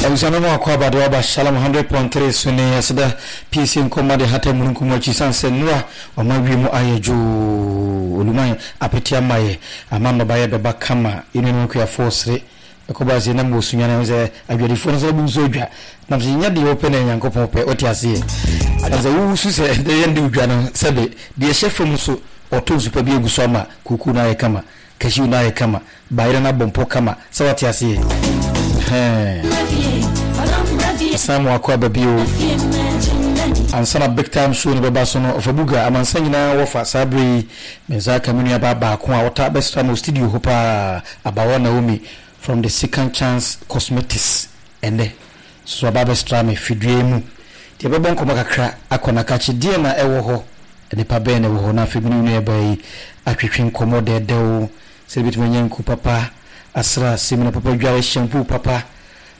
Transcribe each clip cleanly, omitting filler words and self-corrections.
Abusua no mu akwaaba de waba Shalom 100.3 so ne aseda piesie nkɔmma de hata mununkum akyi sane sɛ nnora wama wiem ayɛ dwoo oluman apete ama yɛ ama nnɔbaeɛ bɛba kama yɛn nuanom akuafoɔ sere ɛkɔba sɛ na mewɔ sunyane ho sɛ adwadifoɔ no sɛ wobu nso adwa nam sɛ nyɛ deɛ wopɛ na Nyankopɔn pɛ wote aseɛ nam sɛ wosu sɛ ɛdɛ yɛn de odwa no sɛbe deɛ ɛhyɛ fam so ɔtɔ nsu pa bi agu so ama kuku no ayɛ kama Cashew no ayɛ kama, bayerɛ no abɔ mpɔ kama, sɛ wate aseɛ? Ɛhɛn. San mu akɔ aba bio. Ansa na Big Time Show no bɛba so no, Ɔfa Buga, amansan nyinaa wɔfa saa berɛ yi, me nsa aka me nuabaa baako a ɔtaa bɛsra me wɔ studio hɔ paa, Abawa Naomi from the Second Chance Cosmetics. Ɛnnɛ nso aba abɛsra me fidua yi mu. Nti yɛbɛbɔ nkɔmmɔ kakra akɔ n'akakye. Deɛn na ɛwɔ hɔ? Nnipa bɛn na ɛwɔ hɔ? Na afei me ne wo nuabaa yi atwetwe nkɔmmɔ dɛɛdɛw sɛdeɛ yɛbɛtumi anya nku papa asra, samina papa adware, shampoo papa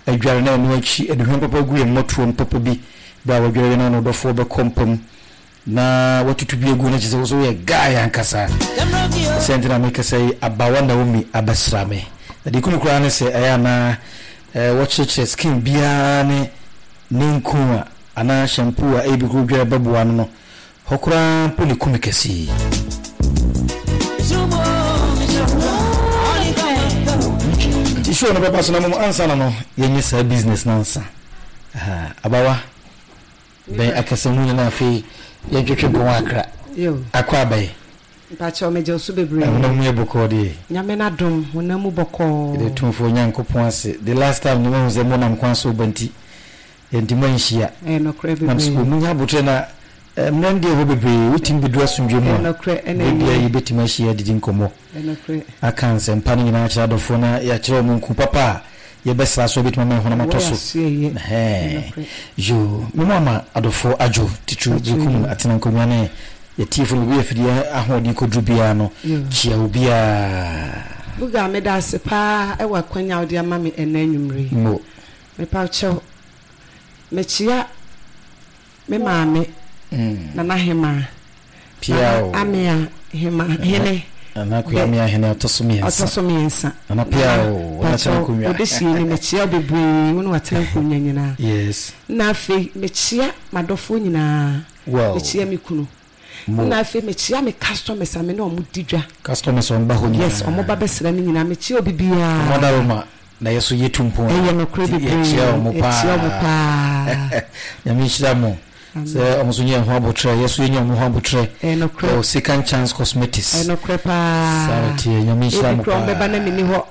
adware, na ɛno akyi aduhwam papa agu yɛn mmɔtoam papa bi berɛ a wadware wie na ɔne ɔdɔfoɔ bɛkɔ mpa mu na watutu bi agu na kyerɛ sɛ wo so woyɛ guy ankasa. Sɛ nti na mekasa yi, abawa Naomi abɛsra me. Na deɛ ɛku me koraa ne sɛ ɛyɛ a na wɔkyerɛkyerɛ skin biara ne ne nku a anaa shampoo a ebi koro dware bɛboa no no Hɔ koraa mpo ne kumi kɛse yi. Nti show no bɛba so na mmom ansa na no yɛnyɛ saa business no ansa. Aha, abawa bɛn akasa mu na afei yɛntwetwe nkɔmmɔ akra. Akɔ abɛn. Mpakyɛw megye wo so bebree. Honam mu yɛ bɔkɔɔ deɛ. Nyame n'adom honam mu bɔkɔɔ. Yɛda Tumfoɔ Nyankopɔn ase. The last time no mahu sɛ monam kwan so reba nti Yɛnti moanhyia. Ɛyɛ nokorɛ Nam bebree. sɛ munya aboterɛ na mmerɛ no deɛ ɛwɔ bebree wotumi bɛduru asomdwoeɛ mu Ɛyɛ a, nokorɛ ɛna berɛ biara ɛnyɛ. yɛbɛtumi ahyia adidi nkɔmmɔ, Ɛyɛ nokorɛ. aka nsɛmpa no nyinaa akyerɛ adɔfoɔ na yɛakyerɛ wɔn nku papa a yɛbɛsra so a ɛbɛtumi ama yɛn honam Ɛwɔ atɔ yɛn so. aso ɛyɛ. Ɛyɛ Ɛhɛɛ. nokorɛ. Yoo, me mu ama adɔfoɔ adwo titiriw Adwo Berekum yoo. atena nkonnwa ne yɛtiefo no baabi a afidie ahoɔden kɔduru biara no, Yoo. kyia obiara. Buga, meda ase paa wɔ akwanya a wode ama me ɛnnɛ anwummere yi. Mo. Mepakyɛw, mekyea me maame, Nana Hemaa, Nana Amea Hema, Hene, Nana Akua Amea Hene ɔtɔ so mmiɛnsa. Ɔtɔ so mmiɛnsa. Nana Pia o, ɔna tena nkonnwa. Odehyie ni, mekyea wo bebree, wo ne watena nkonnwa nyinaa. Yes. Na afei, mekyea m'adɔfoɔ nyinaa. Wow. Mekyea me kunu. Mo. Nna afei mekyea me customers a me ne ɔmo di dwa. Customers a ɔmo ba hɔ nyinaa. Yes, ɔmo ba bɛsra me nyinaa, mekyea obi biara. Ɔmo adaworoma na yɛ so yɛ tu mpon a. Ɛyɛ nokorɛ bebree, Yɛkyea ɔmo paa. yɛkyea ɔmo paa. Nyame nhyira mo sɛ ɔmo nso nya yɛn ho abotrɛ, yɛ so yɛnya ɔmo ho abotrɛ. Ɛyɛ nokorɛ. Ɛwɔ Second Chance Cosmetics. Ɛyɛ nokorɛ paa. Saa na ɛteɛ, Nyame nhyira Ebi mo koraa ɔmo paa. bɛba na menni hɔ,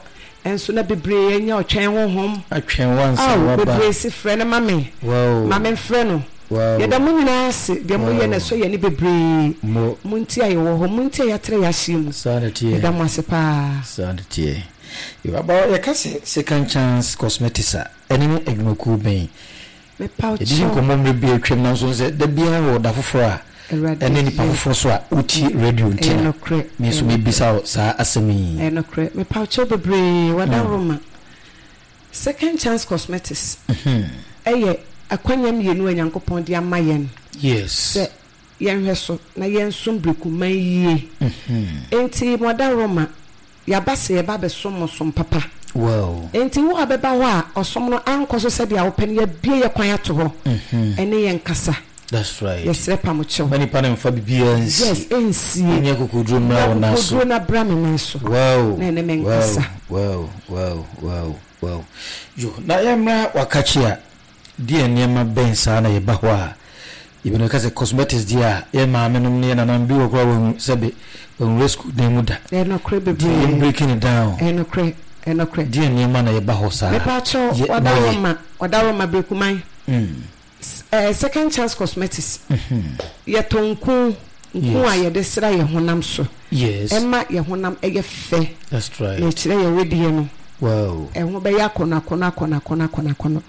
nso na bebree anya ɔtwɛn honhom. Atwɛn wo ansa na Ao, woaba. bebree se frɛ no ma me. Wow. Ma memfrɛ no. Wow. Yɛda mo nyinaa ase, deɛ moyɛ no Wow. ɛsɔ yɛn ani bebree. Mo. Mo nti a yɛwɔ hɔ, mo nti a yɛatrɛ yɛn ahyeɛ mu. Saa na ɛteɛ. Yɛda mo ase paa. Saa na ɛteɛ. Yo, abawa, yɛka sɛ Second Chance Cosmetics a, ɛne ne adwumakuo bɛn? Mepaw Yɛdidi kyɛw. nkɔmmɔ mmerɛ bi a atwam nanso sɛ da biara wɔ da foforɔ a Awurade ɛne nipa yɛ. foforɔ so a wotie radio nti Ɛyɛ na nokorɛ, me ɛyɛ nso nokorɛ. mebisa wo saa asɛm yi. Ɛyɛ nokorɛ. Mepaw kyɛw bebree, Wadaroma. Second Chance Cosmetics yɛ akwanya mmienu a Nyankopɔn de ama yɛn sɛ yɛnhwɛ so na yɛnsom Brekuman yie. Enti mo adaworoma, yɛaba sɛ yɛba abɛsom mo som papa. Enti wo a bɛba hɔ a ɔsom no ankɔ so sɛdeɛ wopɛ no, yɛabue yɛn kwan ato hɔ ɛne yɛn nkasa. Yɛsrɛ pa mo kyɛw. Mma nipa no mfa biribiara nsie. Yes, ɛnsie. Ɔnya akokoduro mmra wo nan so. Nya akokoduro na bra me nan so. Na ɛne me nkasa. Wow, wow, wow, wow. Yo, na yɛmmra wakakye a, deɛ nneɛma bɛn saa na yɛba hɔ a, yɛbɛno ka sɛ cosmetics deɛ a, yɛn maame nom ne yɛn nananom bi wɔ koraa wɔn sɛbe wɔn school dan mu da. Ɛyɛ nokorɛ bebree. Nti yɛn breaking it down. Ɛyɛ nokorɛ, ɛyɛ nokorɛ. Deɛ nneɛma na yɛba hɔ saa. Mepa kyɛw, wadaroma, wadaroma Brekuman. Second Chance Cosmetics, yɛtɔn nku, nku a yɛde sra yɛn honam so. Ɛma yɛn honam yɛ fɛ. Na ɛkyerɛ yɛn wedeɛ no. Ɛho bɛyɛ akɔnɔ akɔnɔ akɔnɔ akɔnɔ akɔnɔ akɔnɔ.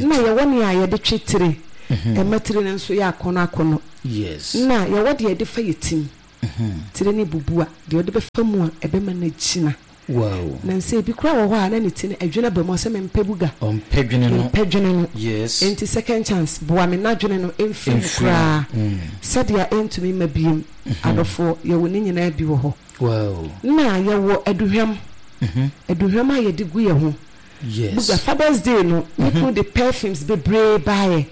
Na yɛwɔ nea yɛde twe tire. Ɛma tire no nso yɛ akɔnɔ akɔnɔ. Na yɛwɔ deɛ yɛde fa yɛ tim. Tire no bubu a, deɛ wɔde bɛfa mu a ɛbɛma no agyina. Wow. Na nsɛ ebi koraa wɔ hɔ a na ne ti no adwene aba mu ɔsɛ mempɛ buga. Ɔmpɛ dwene no. Mempɛ dwene no. Yes. Enti second chance boa me na dwene no mfiri mu koraa. Sɛdeɛ ɛntumi mma biem. Adɔfoɔ yɛwɔ ne nyinaa bi wɔ hɔ. Wow. Na yɛwɔ aduhwam. Aduhwam a yɛde gu yɛn ho. Yes. Buga Father's Day no, me kunu de perfumes bebree baeɛ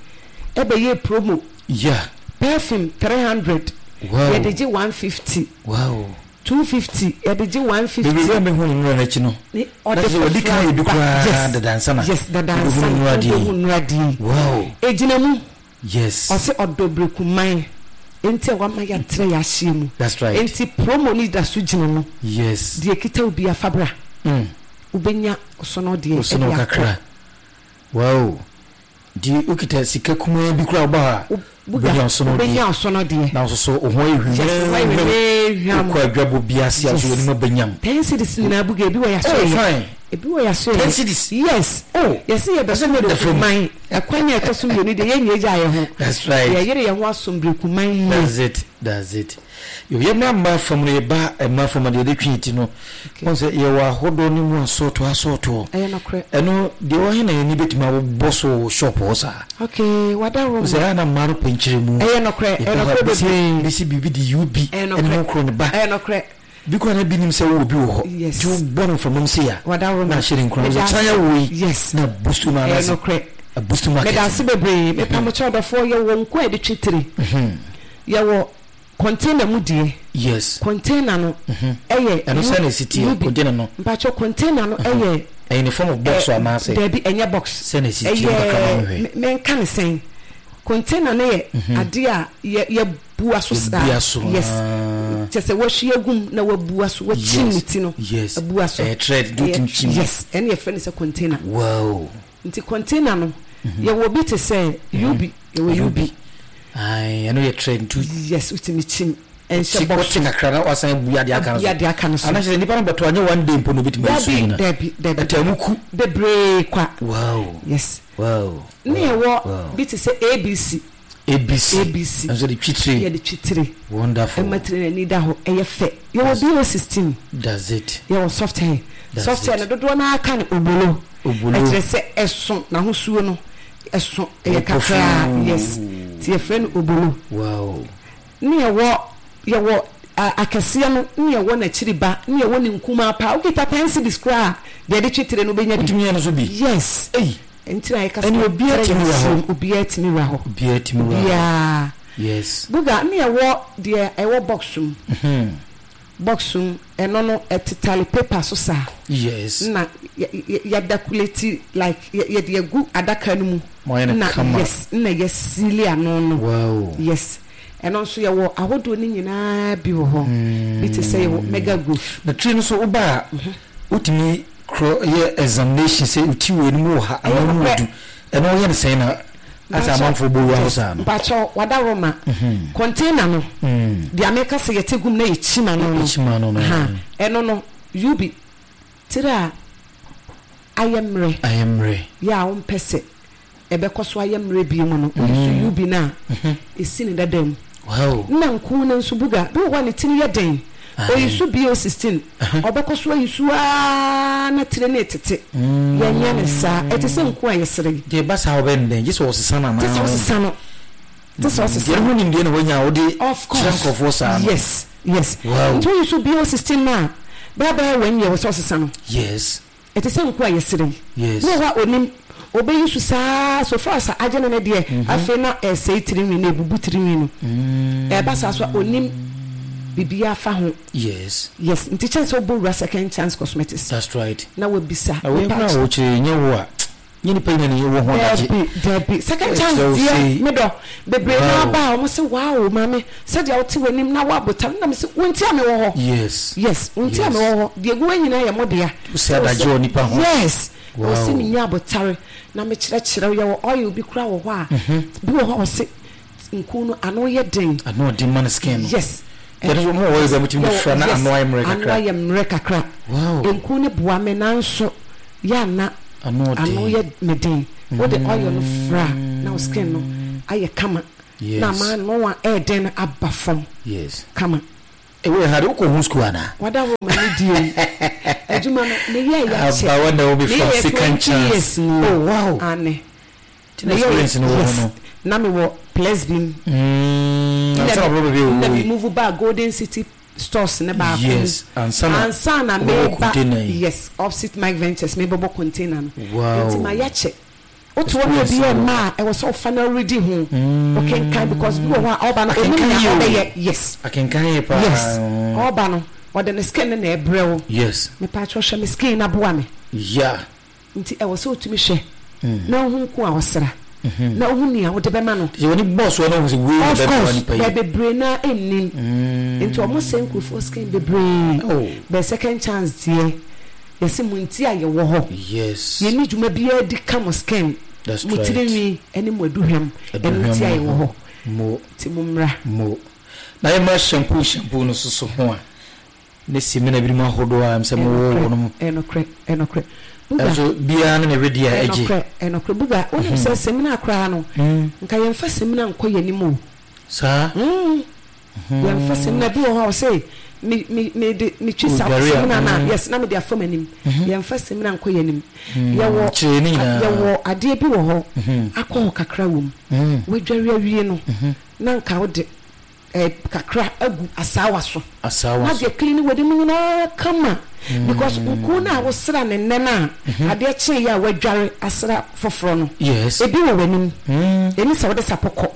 ɛbɛyɛɛ promo. Yeah. Perfume 300. Wow. Yɛde gye 150. Wow. 250 yɛde gye 150. Bebree a mehu no nnora no akyi no. Ne Na ɔde kyerɛ sɛ wɔdi foforɔ kan yɛ bi aba. koraa Yes. dada ansa na Yes, dada wobɛhu ansa no na nnora deɛ yi. wobɛhu nnora deɛ yi. Wow. Ɛgyina mu. Yes. Ɔse ɔdɔ brekuman enti a wama yɛatrɛ yɛahyeɛ mu. That's right. Enti promo no da so gyina mu. Yes. Deɛ ɛkita wo biara fa bra. Wobɛnya ɔsono deɛ Ɔsono ɛde akɔ. kakra. Wow. Nti wokita sika kumaa bi koraa woba hɔ a, wobɛnya ɔsono deɛ. Wobɛnya ɔsono deɛ. Na nso so wo ho ayɛ Yes, wo ho ayɛ hwehwɛm. hwehwɛm. Wokɔ adwabɔ bi ase a, nso Yes. w'anim aba nyam. 10 cedis nyinaa buga ebi wɔ yɛaso Oh, yɛ. fine. Ebi wɔ yɛaso yɛ. 10 cedis? Yes. Oh. Yɛse yɛbɛso Ɛsɛ ne da fam. brekuman. Ɛkwan a ɛtɔ so mmienu deɛ yɛnyɛ gya yɛ ho. That's right. Yɛyere yɛn ho asom brekuman yie. That's it. That's it. Yo, yɛmmra mmaa fam no, yɛba mmaa fam a deɛ yɛde twe ti no, wɔn sɛ yɛwɔ ahodoɔ ne mu asɔɔtoɔ asɔɔtoɔ. Ɛyɛ nokorɛ. Ɛno deɛ wɔ he na yɛn ani bɛtumi abobɔ so wɔ shop hɔ saa? Okay, wada hɔ ma. Sɛ ɛyɛ na mmaa no pɛ nkyerɛmu. Ɛyɛ nokorɛ, ɛyɛ nokorɛ bebree. Bɛsi biribi de UB Ɛyɛ ɛne ho korɔ ne ba. Ɛyɛ nokorɛ. Bi koraa na bi nim sɛ wowɔ bi wɔ hɔ. Yes. Nti wobɔ no mframam sei a. Wada hɔ ma. Na ahyɛ ne nkuran. Meda Sɛ kyena yɛ wo yi. Yes. Na boost no Ɛyɛ anaasɛ. nokorɛ. Boost market. Meda ase bebree. Mepamokyɛ ɔdɔfoɔ yɛwɔ nku a yɛde twe tire. Yɛwɔ container mu deɛ. Yes. Container no ɛyɛ. Ɛno sɛ na esi teɛ container no. Mpatsɔ container no ɛyɛ. Ɛyɛ ne form of box anaasɛ. Dɛbi ɛnyɛ box. Sɛ na esi teɛ mu kakra ma mi hwɛ. Ɛyɛ mɛnka ne sɛn container no yɛ adeɛ a yɛ yɛ bua so saa. Bua so. Yes. Kyɛ sɛ wahwie agum na wabua so wakyim ne ti no. Yes. Abua so. Ɛyɛ thread do tim kyim. Yes. Ɛne yɛfrɛ no sɛ container. Wow. Nti container no yɛwɔ bi te sɛ UB yɛwɔ UB. Ayi ɛno yɛ thread nti. Yes wotumi kyim ɛnhyɛ box. Wote kakra na wasan abu adeɛ aka no so. Abu adeɛ aka no so. Anaasɛ nipa no bɛtɔ anyɛ one day mpo na obetumi ayi so nyina. Dabi dabi dabi. Ɛtɛ mu ku. Bebree kwa. Wow. Yes. Wow. Ne yɛwɔ bi te sɛ ABC. ABC. ABC. Nso de twitire. Yɛde twitire. Wonderful. Ɛma tire n'ani da hɔ ɛyɛ fɛ. Yɛwɔ BO 16. Does it. Yɛwɔ soft hair. Does Soft hair it. no dodoɔ no ara ka no obolo. Obolo. Ɛkyerɛ sɛ ɛso n'ahosuo no ɛso ɛyɛ kakraa. Yes. Nti yɛfrɛ no obolo. Wow. Ne yɛwɔ yɛwɔ akɛseɛ no ne yɛwɔ n'akyiri ba ne yɛwɔ ne nkumaa paa. Wokita 10 cedis koraa a deɛ yɛde twe tire no wobɛnya bi. Wotumi yɛ no so bi? Yes. Ei. Nti na yɛka sɛ Ɛne obiara tumi wura hɔ. Obiara tumi wura hɔ. Obiara tumi wura hɔ. Obiara. Yes. Buga ne yɛwɔ deɛ ɛwɔ box mu. Box mu ɛno no ɛtetale paper so saa. Yes. Na yɛdakuleti like yɛde agu adaka no mu. Mo ayɛ no kama. Yes, na yɛsili ano no. Wow. Yes. Ɛno nso yɛwɔ ahodoɔ no nyinaa bi wɔ hɔ. Bi te sɛ yɛwɔ mega growth. Na tiri no so woba a wotumi korɔ yɛ examination sɛ oti wɔ anim wɔ ha anaa mu du. Ɛno woyɛ no sɛn na asɛ amanfoɔ bɔ wura hɔ saa no. Mpakyɛw wada Roma container no deɛ meka sɛ yɛte gum na yɛkyim ano no. Yɛkyim ano no. Ɛno no UB tiri a ayɛ mmerɛ. Ayɛ mmerɛ. Yɛ a wompɛ sɛ ɛbɛkɔ so ayɛ mmerɛ bio mu no, woyi so UB no a, ɛsi ne dada mu. Nna nku no nso buga bi wɔ hɔ a ne tiri yɛ den, oyi so BO 16, ɔbɛkɔ so ayi so ara na tiri no retete. Yɛnyɛ no saa, ɛte sɛ nku a yɛsere yi. Deɛ ɛba saa a wobɛyɛ no dɛn? Gye sɛ wɔsesa no anaa? Gye sɛ wosesa no. Gye sɛ wosesa no. Deɛ ho nimdeɛ na woanya a wode kyerɛ nkurɔfoɔ saa no. Yes, yes. Nti woyi so BO 16 no a, bɛyɛ bɛyɛ one year wɔ sɛ ɔsesa no. Yes. Ɛte sɛ nku a yɛsrɛ yi. Yes. Bi wɔ hɔ a onim, obeyi so saa so far as agye no no deɛ, afei na ɛresɛe tirinwi no, ebubu tirinwi no. Ɛba saa so a onim biribiara fa ho. Yes. Yes, nti kyɛn sɛ wobɔ wura Second Chance Cosmetics. That's right. Na wabisa. Na wei koraa a wokyerɛ yi, nyɛ wo a, nyɛ nipa nyina na ɛwɔ ho adagye. Dabi, dabi. Second Chance deɛ, me dɔ, bebree no aba a wɔn se wow maame, sɛdeɛ wote w'anim na woabotan, na me se wo nti a mewɔ hɔ. Yes. Yes, wo nti a mewɔ hɔ. Deɛ egu hɔ nyinaa yɛ mo dea. Wosɛ adagye wɔ nipa ho. Yes. Wow. Ɔse menya abotare na mekyerɛkyerɛ wo. Yɛwɔ oil bi koraa wɔ hɔ a, bi wɔ hɔ a ɔse nku no ano yɛ den. Ano ɔden ma ne skin no. Yes. Yɛde so mo oil bi a motumi de fra na ano ayɛ mmerɛ kakra. Ano ayɛ mmerɛ kakra. Wow. Nku no boa me nanso yɛ ana ano yɛ me den. Wode oil no fra na wo skin no ayɛ kama. Yes. Na ama ano a ɛyɛ den no aba fam. Yes. Kama. Ewo ha de wokɔ ho school ana? Wada wo ma ne die o. Adwuma no me yɛ ya kyɛ. Aba wa na obi from second chance. Oh wow. Ane. Tina experience no wo no. Na me wɔ Plesbim. Na sa bro be wo. Na me move ba Golden City. stores no baako mu. Yes, ansa na Ansa na wobɛbɔ meba container yi. yes opposite Mike Ventures mebɛbɔ container no. Wow. Nti mayɛ kyɛ. Wote hɔ na obi Experience yɛ no wɔ mma a ɛwɔ sɛ wofa na woredi ho. Wokenkan because bi wɔ hɔ a ɔba no onim Akenkan nea yɛ o. ɔbɛyɛ. Yes. Akenkan yɛ paa. Yes. Ɔba no ɔde ne skin no na ɛbrɛ wo. Yes. Mepaakyɛw hwɛ me skin na boa me. Yeah. Nti ɛwɔ sɛ wotumi hwɛ na wohu nko a ɔsra na wohu nea wode bɛma no. Sɛ w'ani bɔ soɔ na wohu sɛ wei na Of ɛbɛboa course, nipa yi. bɛ bebree no ara nnim. Nti wɔn sɛe nkurɔfoɔ skin bebree. Oh. Bɛ second chance deɛ, yɛse mo nti a yɛwɔ hɔ. Yes. Yɛnni dwuma biara di ka mo skin, That's mo right. tirinwi ne mo aduhwam. Ɛno nti a Aduhwam yɛwɔ ho. hɔ. Mo. Nti mo mmra. Mo. Na yɛmmra shampoo shampoo no nso so ho a. Ne samina binom ahodoɔ a ɛsɛ mowɔ wɔ nom. Ɛnokorɛ, ɛnokorɛ. Buga. Ɛnso biara ne ne wedeɛ a ɛgye. Ɛnokorɛ, ɛnokorɛ. Buga, wonim sɛ samina koraa no, nka yɛmfa samina nkɔ yɛn anim o. Saa? Yɛmfa samina, bi wɔ hɔ a ɔse me me me de metwi sa samina na yes na mede afa m'anim. Yɛmfa samina nkɔ yɛn anim. Yɛwɔ yɛwɔ adeɛ bi wɔ hɔ, alcohol kakra wɔ mu. Wadware awie no, na nka wode kakra agu asaawa so. Asaawa Na so. deɛ clean w'anim nyinaa kama. Because nku no a wosra no nnɛ no a, adeɛ kyeeɛ a woadware asra foforɔ no, ebi wɔ w'anim. Ɛni sɛ wode sapɔ kɔ.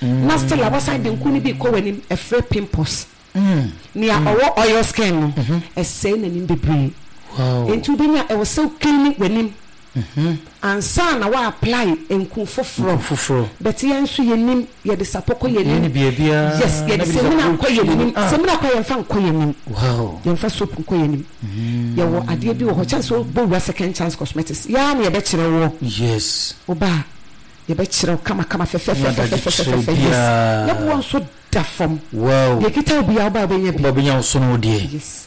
Na still a woasan de nku no bi rekɔ w'anim, ɛfrɛ pimples. Nea ɔwɔ oil skin no, ɛsɛe n'anim bebree. Enti wobɛnya, ɛwɔ sɛ wo clean w'anim. Ansa na wa apply nku foforɔ. Nku foforɔ. But yɛn nso yɛnim, yɛde sapɔ kɔ yɛn Yɛn anim. ni baabiara. Yes, Na yɛde bi de samina sapɔ kɔ twi yɛn anim. Ah. Samina koraa yɛmfa nkɔ yɛn anim. Wow. Yɛmfa soap nkɔ yɛn anim. Yɛwɔ adeɛ bi wɔ hɔ, kyɛn sɛ wobɔ wura Second Chance Cosmetics, yɛn ara na yɛbɛkyerɛ woɔ. Yes. Woba a, yɛbɛkyerɛ wo kamakama Nyɛ adagye kyerɛ fɛfɛfɛfɛfɛfɛfɛ. Yes. biara. Ne boɔ nso da fam. Wow. Deɛ ɛkita wo biara woba a wobɛnya bi. Woba wobɛnya wo sono wo deɛ. Yes.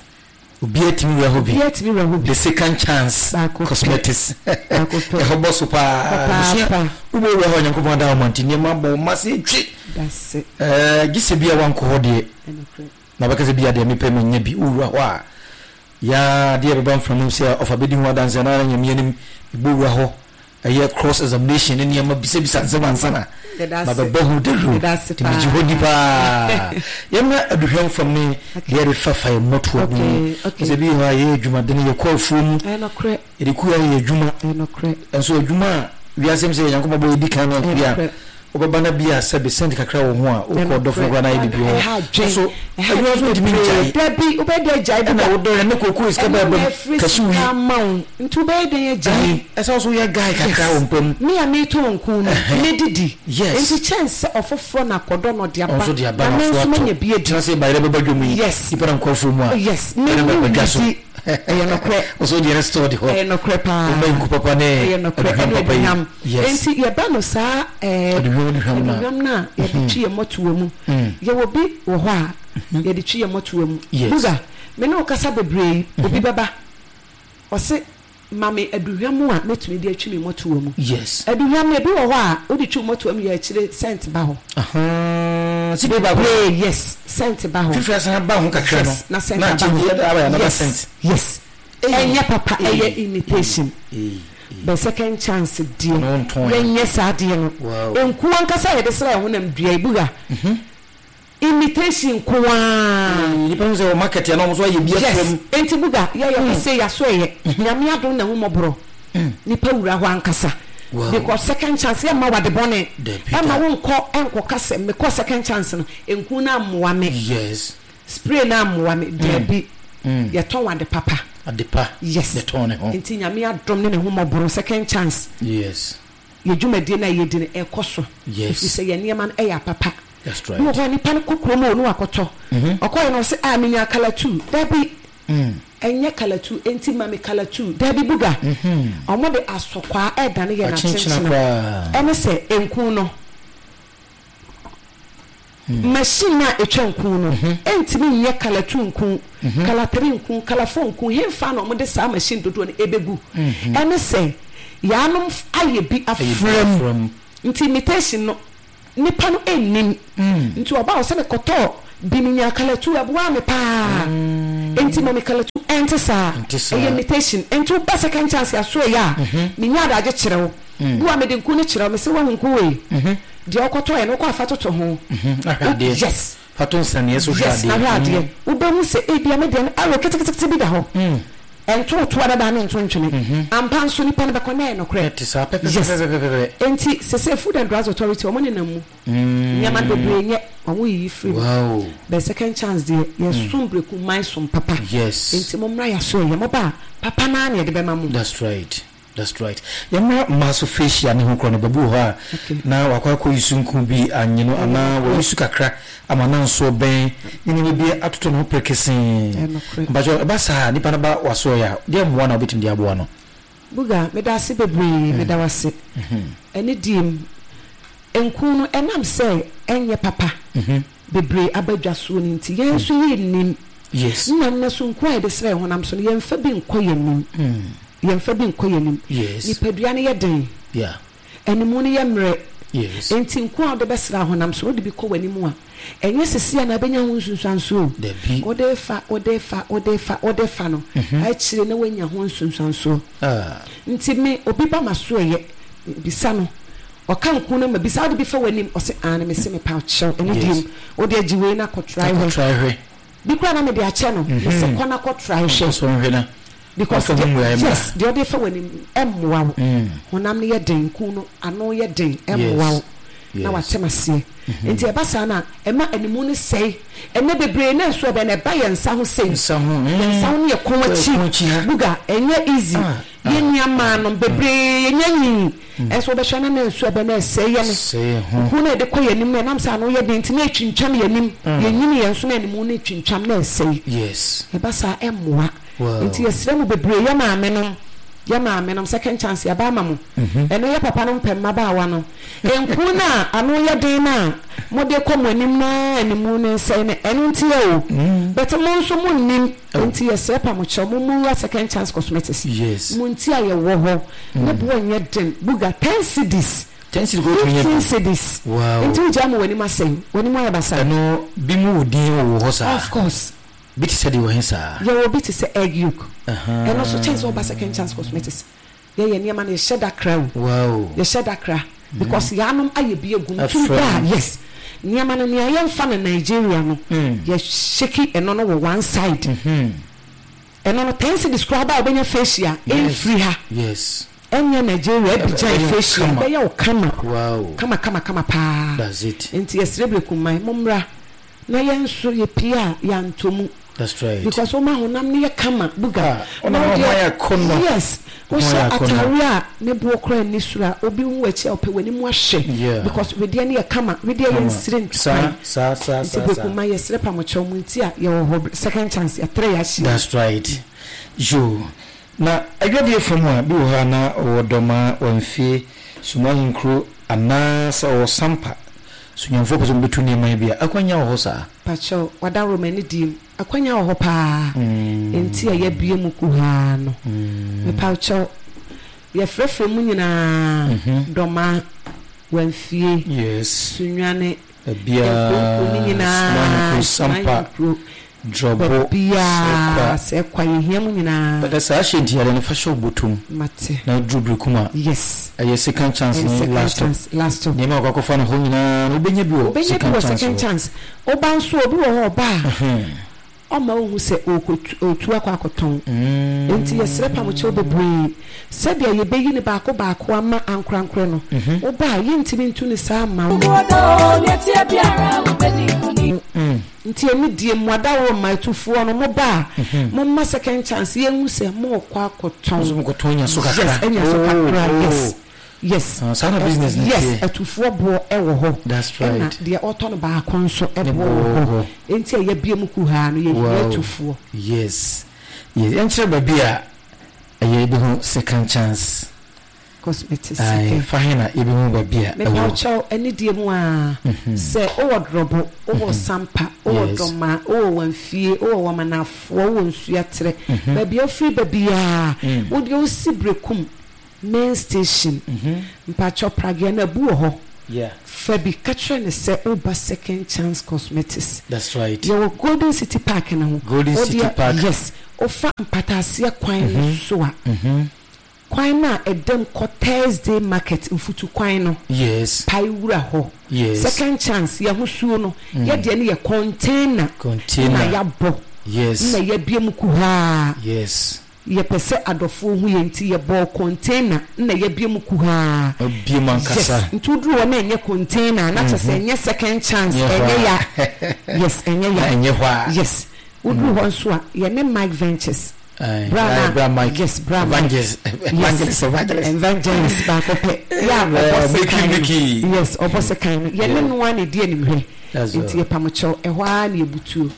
Obiara tumi wura hɔ bi. Obiara tumi wura hɔ bi. The second chance Baako pɛ. cosmetics. Baako pɛ. Ɛhɔ bɔ so paa. Papaapa. Abusua, wobɔ wura hɔ a Nyankopɔn ada wo ma nti nneɛma abɔ wo ma se twe. Dase. Ɛɛ gye sɛ bi a wankɔ hɔ deɛ. Ɛnokorɛ. Na bɛka sɛ bi a deɛ mepɛ manya bi. Wowura hɔ a, yaa adeɛ bɛba mframa mu sɛ ɔfa bɛdi ho adanse anaa Nyame anim mebɔ wura hɔ. Ɛyɛ cross examination ne nneɛma bisabisa nsɛm ansa na mabɛbɔ ho dawuro. Nti megye hɔ di paa. Yɛmmra aduhwam fam ne deɛ yɛde fafa yɛn mmɔtoa mu. Sɛ bi wɔ hɔ a yɛyɛ adwumadene, yɛkɔ afuo mu, yɛde kua yɛ adwuma. Nso adwuma a wiase mu sɛ Nyankopɔn bɔ yɛdi kan no bi a wobɛba na bi a sɛbe sɛnte kakra wɔ ho a wokɔ ɔdɔfo koraa na ayɛ biribi wɔ hɔ. Nso adwuma nso ntumi ngyae. Dabi, wobɛyɛ dɛn agyae bi da? Ɛna wodɔ yɛn ne kookoo sika Ɛno bɛba na mu, ɛfiri kɛse sika wui. ama wo nti wobɛyɛ dɛn agyae? Ae, ɛsɛ wo nso woyɛ guy kakra Yes, wɔ mpa mu. me a meretɔ nku no, mɛdidi. Yes. Nti kyɛn sɛ ɔfoforɔ na akɔdɔ na ɔde Ɔno aba nso de aba na na me afoa nso ato. manya bi adi. Tena sɛ bayerɛ bɛba dwom yi, Yes. nipa na nkɔ afuo mu a, Yes, me ɛna me bɛba dwa so. nnidi. Ɛyɛ nokorɛ. Wo nso wodeɛ no store de hɔ. Ɛyɛ nokorɛ paa. Woma nku papa ne Ɛyɛ nokorɛ, aduhwam ɛne papa yi. aduhwam. Yes. Nti yɛba no saa ɛɛ Aduhwam aduhwam no a. aduhwam no a yɛde twi yɛn mmɔtoa mu. Yɛwɔ bi wɔ hɔ a yɛde twi yɛn mmɔtoa mu. Yes. Buga, me ne wo kasa bebree yi, obi bɛba, ɔse ma me aduhwam a mɛtumi de atwi me mmɔtoa mu. Yes. Aduhwam no, ebi wɔ hɔ a wode twi wo mmɔtoa mu yɛ akyire scent ba hɔ. Ahaa, sika baako. Bebree, yes, scent ba hɔ. Fifiri asan aba ho kakra no. Yes, na scent na aba change hɔ. aba another Yes, scent. yes. Ɛnyɛ papa, ɛyɛ imitation. But second chance deɛ, Ɛno wontɔn ɛ. yɛnyɛ saa adeɛ no. Wow. Nku ankasa a yɛde sra yɛn honam dua yi, buga. Imitation nko ara. Nnipa hu sɛ wɔ market a na wɔn nso ayɛ bi afra Yes, mu. enti buga, yɛ yɛ hɔ sei, yɛaso ɛyɛ. Nyame adom na ahummɔborɔ. Nipa wura hɔ ankasa. Wow. Because second chance, yɛmma wo ade bɔne. Dabi da. Ɛmma wo nkɔ nkɔka sɛ, mekɔɔ second chance no, nku no ammoa me. Yes. Spray no ammoa me. Dabi. Yɛtɔn ade papa. Ade pa. Yes. Yɛtɔn ne ho. Nti Nyame adom ne n'ahummɔborɔ, second chance. Yes. Yɛ dwumadie no a yɛdi no ɛkɔ so. Yes. Ɛfiri sɛ yɛn nneɛma no ɛyɛ apapa. That's right. Bi wɔ hɔ a nipa no kɔ kurom o na wakɔtɔ. Ɔkɔeɛ no ɔse ah menyaa colour tuu. Dabi. Ɛnyɛ colour tuu enti ma me colour tuu. Dabi buga. Ɔmo de asɔkwaa ɛredane yɛn Akyenkyena akyenkyena. koraa. Ɛne sɛ nku no. Machine a etwa nku no ntumi nyɛ colour tuu nku, colour three nku, colour four nku. Henfa na wɔde saa machine dodoɔ no ɛbɛgu? Ɛne sɛ yaanom ayɛ bi afra mu. Nti imitation no nipa no nnim. Nti ɔba a ɔsɛ mekɔtɔɔ bi menyaa colour tuu ɛboaa me paa. Nti ma me colour tuu. Ɛnte saa. Ɛyɛ imitation. Nti woba second chance asoɛeɛ a menya adagye kyerɛ wo. Bi wɔ a mede nku no kyerɛ wo, mese woahu nku wei? Deɛ wokɔtɔeɛ no wokɔ afa toto ho. Ahwɛ adeɛ. Yes. Fa to nsɛnneɛ so hwɛ Yes, adeɛ. na hwɛ adeɛ. Wobɛhu sɛ ebia me deɛ no arrow ketekete bi da hɔ. Ɛnto toa dada ne nto ntwene. Ampa nso nipa no bɛkɔ na ɛyɛ nokorɛ. Ɛte saa Yes. pɛpɛpɛpɛpɛpɛ. Enti sesei Food and Drugs Authority wɔn nenam mu. Nneɛma no bebree nyɛ, wɔn yiyi firi mu. Wow. But second chance deɛ, yɛsom breku man som papa. Yes. Enti mommra yɛaso ɛyɛ. Moba a, papa no ara na yɛde bɛma mo. That's right. That's right. Yɛmmra mmaa so facial ne ho korɔ no, baabi wɔ hɔ a na wakɔ akɔ yi nku bi anye no anaa wayi su kakra ama na nso bɛn ne nneɛma bi atotɔ ne ho prekesee. Mpakyɛ ɛba saa a nipa no ba wasoɛ a, deɛ mmoa na wobɛtumi de aboa no? Buga, meda ase bebree, meda wo ase. Ɛne die mu, nku no ɛnam sɛ ɛnyɛ papa bebree aba dwa soɔ no nti, yɛn nso yɛnnim. Nna nnɛ so nku a yɛde sra yɛn honam so no, yɛmfa bi nkɔ yɛn anim. Yɛmfa bi nkɔ yɛn anim. Nipadua no yɛ den. Animu no yɛ mmerɛ. Enti nku a wode bɛsra honam so no, wode bi kɔ w'anim a, ɛnyɛ seesei a na abɛnya ho nsunsuansoɔ o. Wode refa, wode refa, wode refa, wode refa no, akyire na woanya ho nsunsuansoɔ. Nti me, obi ba m'asoɛeɛ, mebisa no, ɔka nku no ma bisa, wode bi fa w'anim? Ɔse aane. Mese mepa wo kyɛw, ɛno deɛ mu, wode agye wei na kɔ try hwɛ. Bi koraa na mede akyɛ no, mese kɔ na kɔ try hwɛ. Because deɛ, yes, deɛ ɔde fa w'anim ɛmmoa wo. Honam no yɛ den, nku no ano yɛ den, ɛmmoa wo. Na wate m'aseɛ. Nti ɛba saa no a, ɛma animu no sɛe. Ɛnnɛ bebree na nso ɛbɛn no, ɛba yɛn nsa ho sei. Yɛn nsa ho ne yɛn kɔn akyi. Buga, ɛnyɛ easy. Yɛn nua mmaa nom bebree yɛnya nyii. Ɛnso wobɛhwɛ na na nsu ɛbɛn na ɛsɛe yɛn. Nku no a yɛde kɔ yɛn anim no, ɛnam sɛ ano yɛ den nti na ɛtwintwam yɛn anim. Yɛnyini yɛn nso na animu no twintwam na ɛsɛe. Ɛba saa a, ɛmmoa. Nti yɛsrɛ mo bebree, yɛ maame nom, yɛ maame nom, second chance yɛaba ama mo. Ɛno yɛ papa nom pɛ mmabaawa no. Nku no a ano yɛ den no a mode kɔ mo anim no ara animu no nsɛe no, ɛno nti ɛ o. But mo nso mo nnim, nti yɛsrɛ pa mo kyɛw, mo nwura second chance cosmetics. Mo nti a yɛwɔ hɔ, ne boɔ nyɛ den, buga ten cedis, 15 cedis, nti wogyae ma w'anim asɛe, w'anim ayɛ basaa. Ɛno bi mu wɔ din wɔ hɔ saa? Of course. Bi te sɛ deɛ wɔ he saa? Yɛwɔ bi te sɛ egg yolk. Ɛno nso kyɛn sɛ woba second chance cosmetics. Yɛyɛ nneɛma no yɛhyɛ da kra o. Wow. Yɛhyɛ da kra because yɛanom ayɛ bi agu mu. Tumi ba a yes. Nneɛma no nea yɛmfa no Nigeria no yɛ shake ɛno no wɔ one side. Ɛno no 10 cedis koraa ba a wobɛnya facial ɛmfiri ha. Yes. Ɛnyɛ Nigeria Abidjan facial ɛbɛyɛ wo kama. Wow. Kama kama kama paa. That's it. Nti yɛsrɛ Brekuman mommra. Na yɛn nso yɛpie a yɛantɔ mu. That's right. Because woma honam no yɛ kama buga. Ah, na wo deɛ kɔnɔ. Yes, wohyɛ ataare a ne boɔ koraa nni soro a obi hu w'akyi a ɔpɛ w'anim ahwɛ. Yeah. Because wedeɛ no yɛ kama, wedeɛ yɛ nsire ntu kwan. Saa, saa, saa, Nti Beku ma yɛsrɛ pamokyɛw mo nti a yɛwɔ hɔ second chance yɛatrɛ yɛn ahyia. That's right. Yoo. Na adwadie fam a, bi wɔ hɔ a na ɔwɔ Dɔmaa, Wamfie, Sumahenkuro anaa sɛ ɔwɔ Sampa. So Nyamefoɔ pɛ sɛ wɔbɛtu nneɛma yi bi a, akwanya wɔ hɔ saa? Pakyɛw, w'adaworo m'ani die mu. Akwanya wɔ hɔ paa. Enti a yɛabue mu kuhaa no. Mepawkyɛw, yɛfrɛfrɛ mu nyinaa, Dɔmaa, Wamfie, Sunyani, nkuronkuro no nyinaa, Sampa, Drɔbo, Baabiara, sɛ kwa, yɛhia mo nyinaa. But saa hyɛ nti yare no fa hyɛ wo bɔtɔ mu. Mate. Na duru bere a. Yes. Ɛyɛ second chance ne last stop. Last stop. Nneɛma a wɔkɔ akɔfa no hɔ nyinaa no wobɛnya bi wɔ second chance hɔ. Wobɛnya bi wɔ second chance. Woba nso obi wɔ hɔ ɔba a, ɔmma wonhu sɛ ɔretu akɔ akɔtɔn. Enti yɛsrɛ pamokyɛw bebree sɛdeɛ yɛbɛyi no baako baako ama ankorankorɛ no. Woba a, yɛntumi ntu no saa mma wo. Nti anidie mo adaworoma atufoɔ no mo ba a mo mma second chance yɛn hu sɛ mo rekɔ akɔtɔn. Mo kɔtɔn nya so kakra. Yes anya so kakra yes yes. Saa na business no teɛ. Yes atufoɔ boɔ ɛwɔ hɔ. That's right. Ɛna deɛ ɔtɔ no baako nso ɛboɔ wɔ hɔ. Nti a yɛabue mu kuhaa no yɛhia atufoɔ. Yes yes yɛnkyerɛ baabi a ɛyɛ yɛbɛhu second chance. Cosmetics Ae, okay. fa he na yɛbɛhu baabi a ɛwɔ? Mepawokyɛw, anidie mu aa, sɛ wowɔ Drɔbo, wowɔ Sampa, wowɔ Dɔmaa, wowɔ Wamfie, wowɔ Wamanafoɔ, wowɔ Nsuaterɛ, baabi a wofiri ba biaa, wo deɛ wosi Berekum main station, mpakyɛw Pragea no abu wɔ hɔ, fa bi ka kyerɛ no sɛ woba Second Chance Cosmetics. That's right. Yɛwɔ Golden City Park no ho. Golden City Park. Yes, wofa Mpataaseɛ kwan no so a. Kwan no a ɛdam kɔ Thursday market mfutu kwan no. Yes. Pae wura hɔ. Yes. Second chance yɛhosuo no. Yɛ deɛ no yɛ container. Container. Na yɛabɔ. Yes. Na yɛabue mu kuhaa. Yes. Yɛpɛ sɛ adɔfoɔ hu yɛn nti yɛbɔɔ container na yɛabue mu kuhaa. Abue mu ankasa. Yes. Nti woduru hɔ na ɛnyɛ container na kyerɛ sɛ ɛnyɛ second chance. Ɛnyɛ ya. Yes, ɛnyɛ ya. Ɛnyɛ hɔ a. Yes. Woduru hɔ nso a yɛne Mike Ventures. Bra na bra Mike. Yes, bra Mike. Evangelist. Evangelist. Evangelist. Evangelist baako pɛ. Yɛ a ɔbɔ sekan no. Yes, ɔbɔ sekan no. Yɛne no ara na ɛdi animhwɛ. Nti yɛpam kyɛw, ɛhɔ ara na yɛbutuo.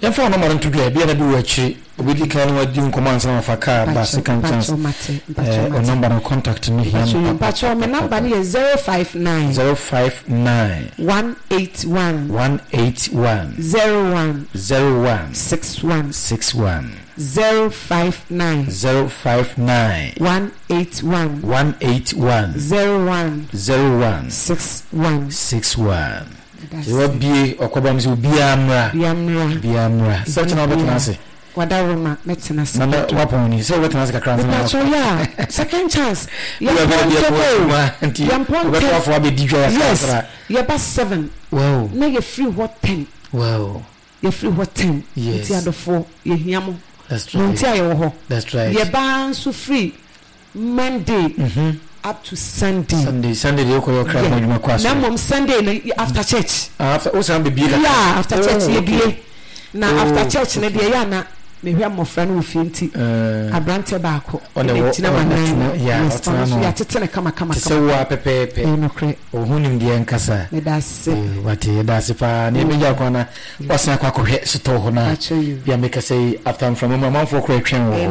Yɛmfa wo nɔma no nto dwa, ebia na bi wɔ akyire. Obɛdi kan ne wadi nkɔmmɔ ansa na wafa kaa ba second chance. Wo nɔmba no contact no hia me papa. Mpakyɛw, me nɔmba no yɛ 059. 059. 181. 181. 01. 01. 61. 61. 059. 059. 181. 181. 01. 01. 61. 61. Sɛ wabie ɔkɔba mu sɛ obiara mmra. Obiara mmra. Obiara mmra. Sɛ ɔkyena wobɛtena ase. Wadaroma mɛtena ase. Na wapɔn ni sɛ wobɛtena ase kakra nsa na wakɔ. Mepatwɔ yɛ a second chance. Yɛmpɔn ntɛm o. Yɛmpɔn ntɛm. Wobɛkɔ afɔ abɛdi dwa yɛ Yes yɛba 7. Wow. Na yɛfiri hɔ 10. Wow. Yɛfiri hɔ 10. Yes. Nti adɔfoɔ yɛhia mo. That's right. Mo nti a yɛwɔ hɔ. That's right. Yɛba nso firi Monday up to Sunday. Sunday Sunday deɛ wokɔyɛ ɔkra ho adwuma kɔ asɔre. Na mmom Sunday no after church. Ah, after wosan bebie kakra. Yeah, after church Oh, yɛbie. okay. Na Oh, after church no okay. deɛ ɛyɛ a na mehwɛ mmɔfra no wɔ fie nti aberanteɛ baako Ɔna ɛna wɔ- gyina ɔna m'anan tena- mu. yeah, Yes, ɔtena ɔno nso ano. yɛatete no kama kama Te sɛ kama. wo ara pɛpɛɛpɛ. Ɛyɛ nokorɛ. Wo ho nimdeɛ nkasa. Meda ase. Eh, wate, yɛda ase paa. Na yɛbɛgya kwan na wasan akɔ akɔhwɛ sotɔɔ hɔ no a. Akyɛ you. Bia mekasa yi after mframa mu amanfoɔ koraa twɛn wɔ hɔ.